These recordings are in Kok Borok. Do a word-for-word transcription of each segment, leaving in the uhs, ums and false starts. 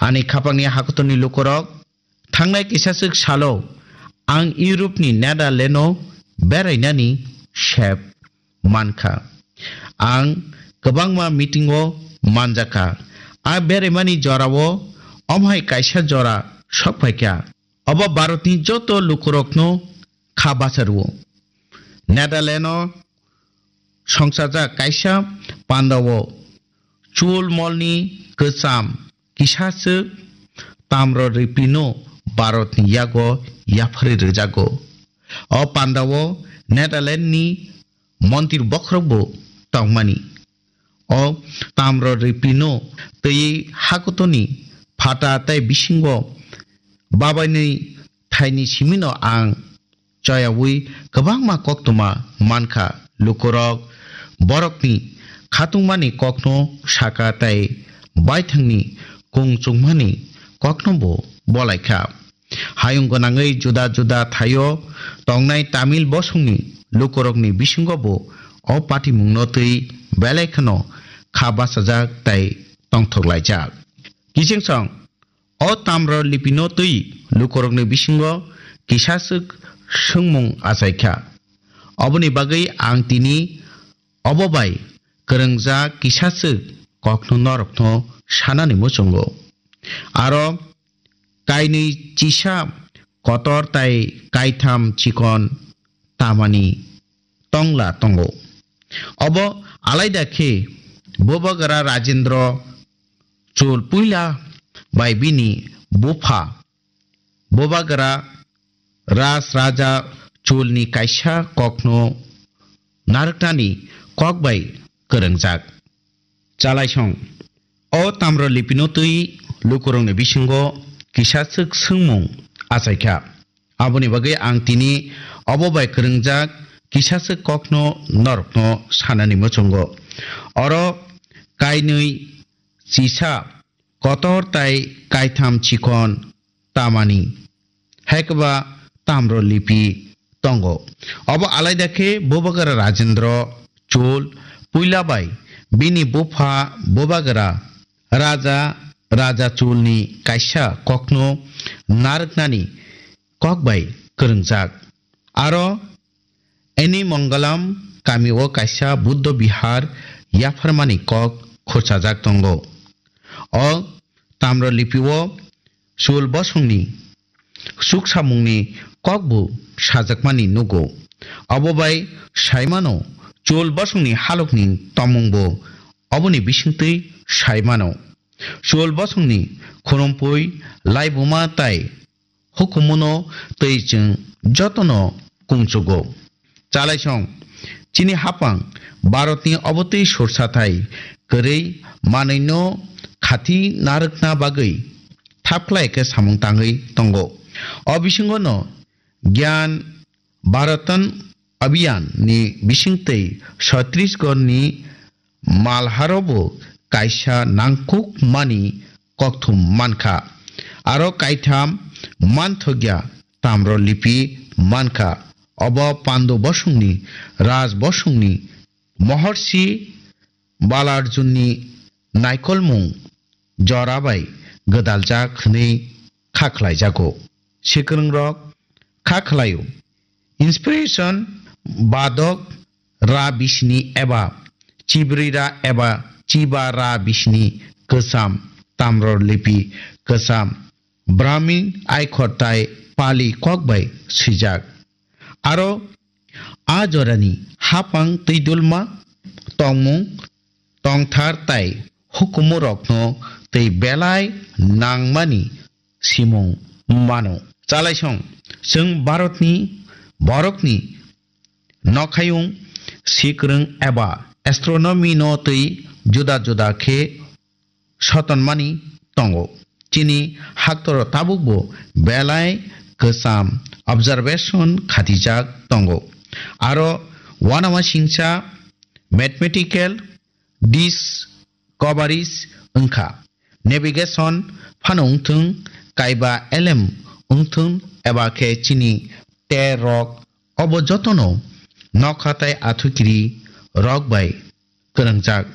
Ani khapangni hakotorni lukurok, thangnai kisaswk salo ang Europe-ni Netherlands-o berainani sep mankha. Ang kwbangma meeting-o manjakha. A beraimani jorao omo hai kaisa jora sokphaikha. Obo Bharatni joto lukurokno kha bacha rwo. Netherlands-o songchajak kaisa pandao chul molni kwcham kisaswk tamro ripino Bharatni yago yapharwi rwjago. O pandao Netherlands-ni montri bokhorokbo tongmani. O tamro ripino twi hakutoni phata tei bisingo babainwi thaini simino ang choyaui kwbangma koktwma mankha. Lukurok borokni khatungmani kokno saka tei baithangni kung chukmani koknobo bolaikha. Hayung gwnangwi juda juda thaio tongnai Tamil bosongni lukurokni bisingobo o patimungno twi belai kheno kha bachajak tei tongthok laijak. Kiching song, o tamro lipino twi lukurokni bisingo kisaswk swngmung achaikha. Oboni bagwi ang tini obo bai kwrwngjak kisaswk kokno norokno sanani muchungo. Aro kainwi chisa kotor tai kaitham chikon tamani tongla tongo. Obo alaida khe Bubagra Rajendra Chol puila bai bini bupha Bubagra Raj Raja Cholni kaisa kokno narwknani kok bai kwrwngjak. Chalaisong. O tamro lipino twi lukurokni bisingo kisaswk swngmung achaikha. Aboni bagwi ang tini obo bai kwrwngjak kisaswk kokno norokno sanani muchungo. Oro kainwi chisa kotor tai kaitham chikon tamani, haikwba tamro lipi tongo. Obo alaida khe Bubagra Rajendra Chol puila bai bini bupha Bubagra Raja Raja Cholni kaisa kokno narwknani kok bai kwrwngjak. Aro Eni Mongalam kamio kaisa Buddha Vihar yapharmani kok khurchajak tongo. O tamro lipio Chol bosongni chuksamungni kokbo sajakmani nugo. Obo bai saimano Chol bosongni halokni tongmungbo oboni bisingtwi saimano. Chol bosongni khorompui, laibuma tai hukumuno tei chwng jotono kungchugo. Chalaisong, chini hapang Bharatni obotwi sorsathai kwrwi manwino khati narwkna bagwi thapkhlai khe samung tangwi tongo. O bisingono Gyan Bharatan Abhiyan ni bisingtwi Chhattisgarh ni malharobo kaisa nangkukmani kokthum mankha. Aro kaitham manthokya tamro lipi mankha. Obo Pandu bosongni, Raj bosongni, Moharshi Balarjunni naikolmung jora bai gwdaljak hwnwi kha khlaijago. Sikwrwngrok kha khlaio. Inspiration badok ra bisini eba chibrwi ra eba chiba ra bisini kwcham tamro lipi kwcham Brahmin aikhor tai Pali kok bai swijak. Aro a jorani hapang twidulma tongmung tongthar tai hukumurokno tei belai nangmani simung mano. Chalaisong, chwng Bharatni borokni nokhayung sikwrwng eba astronomy no twi juda juda khe sotonmani tongo. Chini haktoro tabukbo belai kwcham observation khatijak tongo. Aro uanama singcha mathematical discoveries wngkha. Navigation phano wngthung, kaiba elem wngthung eba khe chini ter rok obo jotono nokha tai athukiri rok bai kwrwngjak.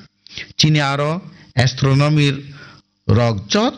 Chini aro astronomy rok jot